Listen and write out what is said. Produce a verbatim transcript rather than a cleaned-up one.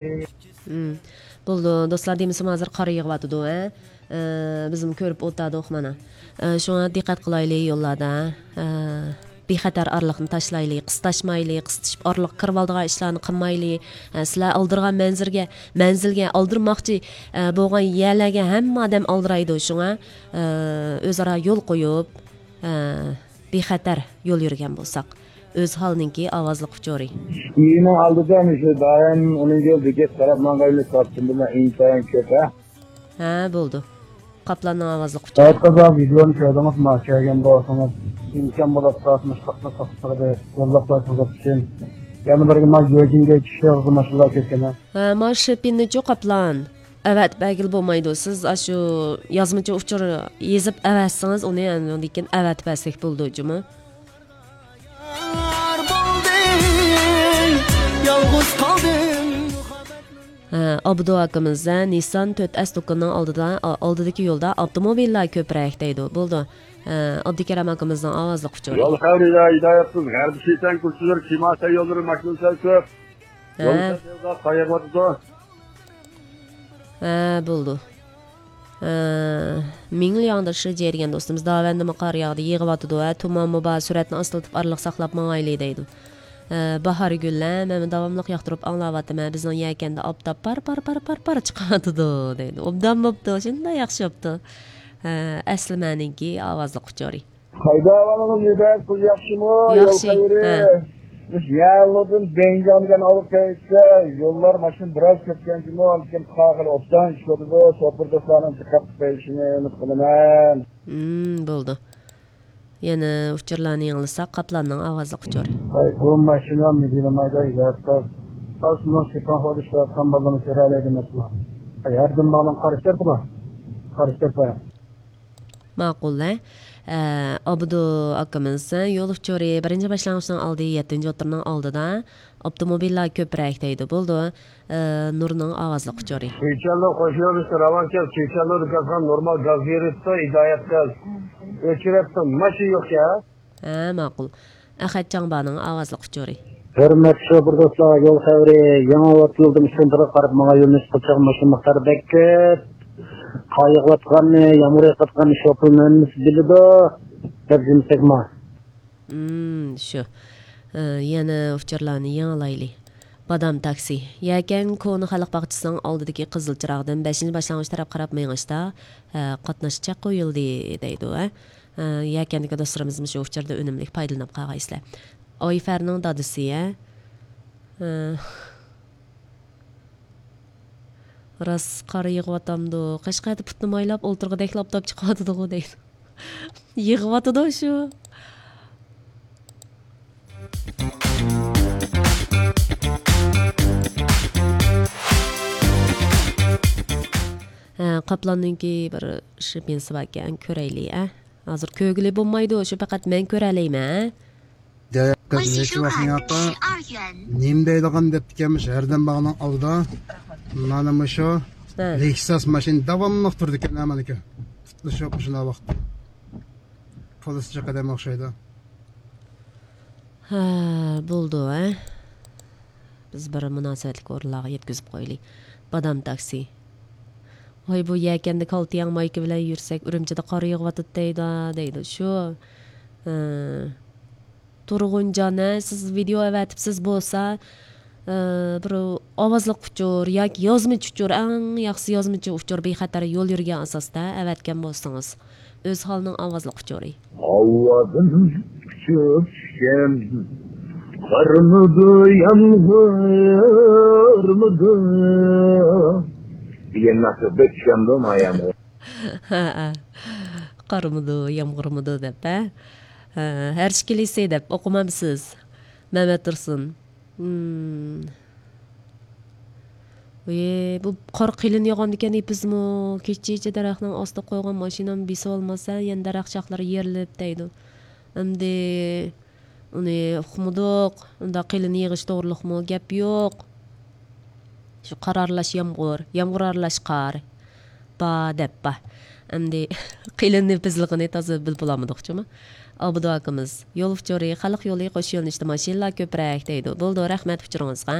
مم. بولىدۇ، دوستلار، دېمىسىمۇ ھازىر قار يېغىۋاتىدۇ، ھە؟ ئە، بىزمۇ كۆرۈپ ئولتۇردۇق مانا. ئە، شۇڭا دىققەت قىلايلى يوللاردا. ئە، بىخەتەر ئارىلىقنى تاشلايلى، قىستاشمايلى، قىستىشىپ ئارىلىققا كىرىۋالىدىغان ئىشلارنى قىلمايلى. ئە، سىلەر ئالدىرىغان مەنزىلگە، مەنزىلگە ئالدىرىماقچى، ئە، بولغان يەرلەرگە ھەممە ئادەم ئالدىرايدۇ. شۇڭا، ئە، ئۆزئارا يول قويۇپ، ئە، بىخەتەر يول يۈرگەن بولساق. ئۆزھالنىڭكى ئاۋازلىق ئۇچۇرى. ئۆيىنىڭ ئالدىدا مۇشۇ دائىم ئۇنىڭ يول بېكەت قاراپ ماڭغانلىق قاپتىمدىمۇ ئىنتايىن كۆپ، ھە؟ ھە، بولىدۇ. قاپلاننىڭ ئاۋازلىق ئۇچۇرى. ھەتتا بار ۋىدېونى كۆردىڭىزمۇ؟ كەلگەن بولسىڭىز، ئىمكان بولۇپ تۇرسا مۇشۇنداقلا توختىتىپ يوللاپ قويسىڭىز ئۈچۈن. يەنە بىرگە ما يۆجىنگە چۈشۈرىدۇ ماشىنىلار كۆپكەنە. ھە، ما شېپىننىچۇ قاپلان. ئەۋەتىپ بەرگىلى بولمايدۇ. سىز ئاشۇ يازمىچە ئۇچۇر يېزىپ ئەۋەتسىڭىز، ئۇنى ئاندىن كېيىن ئەۋەتىپ بەرسەك بولىدۇ جۇمۇ. يار بولدى، يالغۇز قالدىم. ھە، ئابدۇ ئاكىمىز، ھە، نىسسان تۆت ئەس دۇكىنىنىڭ ئالدىدا، ئالدىدىكى يولدا ئاپتوموبىللار كۆپرەك دەيدۇ. بولىدۇ. ھە، ئابدۇكېرەم ئاكىمىزنىڭ ئاۋازلىق ئۇچۇرى. يول خەۋىرى ھىدايەتسىز، غەربىي شىتەن كۈلسىزلىرى، كىماسا يوللىرى ماشىنا سەل كۆپ. ھە. يول سەل قايغۇرتىدۇ. ھە، بولىدۇ. ھە، مىڭلياڭدا شىجيې دېگەن دوستىمىز، داۋەندىمۇ قار ياغدى، يېغىۋاتىدۇ، ھە، تۇمانمۇ بار، سۈرئەتنى ئاستىلىتىپ ئارىلىق ساقلاپ ماڭايلى دەيدۇ. ھە، باھارگۈل، ھە، مەن داۋاملىق ياقتۇرۇپ ئاڭلاۋاتىمەن، بىزنىڭ يەكەندە ئاپتاپ پار، پار، پار، پار، پار چىقىۋاتىدۇ دەيدۇ. ئوبدان بوپتۇ، شۇنداق ياخشى بوپتۇ. ھە، ئەسلىمەنىڭكى ئاۋازلىق ئۇچۇرى. قايدا ئەھۋالىڭىز، نېمە قىل، ياخشىمۇ؟ يول ياخشى، خەۋىرى؟ ھە. بىز يەنلىدىن بېيجىڭدىن ئالغا كەلسە، يوللار ماشىنا بىراز كۆپكەنكىمۇ، لېكىن قاغىل ئوبدان ئىشلىتىدۇ، شوپۇر دوستلارنىڭ دىققەت قىلىشىنى ئۈمىد قىلىمەن. مم، بولىدۇ. يەنە ئۇچۇرلارنى ياڭلىساق، قاپلاننىڭ ئاۋازلىق ئۇچۇرى. ۋاي، بۇ ماشىنا مىدىرلىمايدۇ، ياتقا. ئاسمىنىڭ شىپان خورۇشلاپ، تامباللىرىنى كۆرەلەيدۇ ماشىنا. ھەردىن ماڭىدىغان قارشى تەرىپى بار. قارشى تەرىپى. ماقۇل، ھە. ئە، ئابدۇ ئاكىمىز، ھە، يول ئۇچۇرى بىرىنچى باشلانغۇچنىڭ ئالدى، يەتتىنچى ئوتتۇرىنىڭ ئالدىدا ئاپتوموبىللار كۆپرەك دەيدۇ. بولىدۇ. ئە، نۇرنىڭ ئاۋازلىق ئۇچۇرى. چېچەنلىق قوشۇن يولىسى راۋان كەل، چېچەنلىق دۇكانخانا نورمال گاز بېرىپتۇ، ھىدايەت گاز ئۆچۈرۈپتۇ، ماشىنا يوقكەن. ھە، ماقۇل. ئەخەت جاڭبانىڭ ئاۋازلىق ئۇچۇرى. ھۆرمەتلىك شوپۇر دوستلار، يول خەۋىرى، يېڭى ئاۋاتلىدىم، شۇندىغا قاراپ ماڭا يۆنىلىش قىلچاق ماشىنا مىقدارى بەك كۆپ. قار يېغىۋاتقاننى، يامغۇر يېغىۋاتقاننى شوپۇرمۇ ھەممىسى بىلىدۇ، دەپ جىمسەكما. مم، شۇ. ئە، يەنە ئۇچۇرلارنى يېڭىلايلى. بادام تاكسى. يەكەن كونا خەلق باغچىسىنىڭ ئالدىدىكى قىزىل چىراغدىن بەشىنچى باشلانغۇچ تەرەپ قاراپ مېڭىشتا، ئە، قاتناش چەك قويۇلدى دەيدۇ، ھە. ئە، يەكەندىكى دوستلىرىمىزمۇ شۇ ئۇچۇردا ئۈنۈملۈك پايدىلىنىپ قالغايسىلەر. ئايفەرنىڭ دادىسى، ھە. ئە، راست قار يېغىۋاتامدۇ؟ قەشقەردە پۇتنى مايلاپ ئولتۇرغۇدەكلا ئاپتاپ چىقىۋاتىدىغۇ دەيدۇ. يېغىۋاتىدۇ شۇ. ھە، قاپلاننىڭكى بىر شىپىنسى باركەن، كۆرەيلى، ئە. ھازىر كۆرگىلى بولمايدۇ، شۇ پەقەت مەن كۆرەلەيمەن، ئە. دەيەتتە نېچە ۋاقىت ياقا؟ نېمە دەيدىغان دەپتىكەنمىش، ھەردەم باغنىڭ ئالدىدا. مانا مۇشۇ ھە. لېكساس ماشىنا داۋاملىق تۇرىدىكەن، ھە، مانىكى. پۇتلىشىپ مۇشۇنداق ۋاقىت. پولىس چىقىدىغان ئوخشايدۇ. ھە، بولىدۇ، ھە. بىز بىر مۇناسىۋەتلىك ئورۇنلارغا يەتكۈزۈپ قويىلى. بادام تاكسى. ۋاي، بۇ يەكەندە كالتىياڭ مايكا بىلەن يۈرسەك، ئۈرۈمچىدە قار يېغىۋاتىدۇ دەيدۇ، دەيدۇ. شۇ. ھە. تۇرغۇنجان، ھە، سىز ۋىدېئو ئەۋەتىپسىز بولسا، ئە، بىر ئاۋازلىق ئۇچۇر ياكى يازمىچە ئۇچۇر، ئەڭ ياخشىسى يازمىچە ئۇچۇر، بىخەتەر يول يۈرگەن ئاساستا ئەۋەتكەن بولسىڭىز. ئۆزھالنىڭ ئاۋازلىق ئۇچۇرى. ھاۋادىن ئۇچۇپ چۈشكەن، قارمىدۇ، يامغۇرمىدۇ دېگەن ناخشا بەك چۈشەمدۇ مايامغۇر. ھەئە. قارمىدۇ، يامغۇرمىدۇ دەپ، ھە؟ ھە، ھەر ئىككىلىسى دەپ ئوقۇمامسىز؟ مەمەت تۇرسۇن. مم. ۋى، بۇ قار قېلىن ياغاندىكەن ئېپىزمۇ. كېچىچە دەرەخنىڭ ئاستىغا قويغان ماشىنامنى بېسىۋالماسا، يەنە دەرەخ چاقلىرى يېرىلىپ دەيدۇ. ئەمدى ئۇنى ئۇقمىدۇق. ئۇنداق قېلىن يېغىش توغرىلىقمۇ گەپ يوق. شۇ قار ئارىلاش يامغۇر، يامغۇر ئارىلاش قار. با دەپ با. ئەمدى قېلىن ئېپىزلىقىنى تازا بىلىپ بولالمىدۇق جۇمۇ. ئابدۇ ئاكىمىز، يول ئۇچۇرى، خەلق يولى، قوش يۆنىلىشتە ماشىنىلار كۆپرەك دەيدۇ. بولىدۇ، رەھمەت ئۇچۇرىڭىزغا.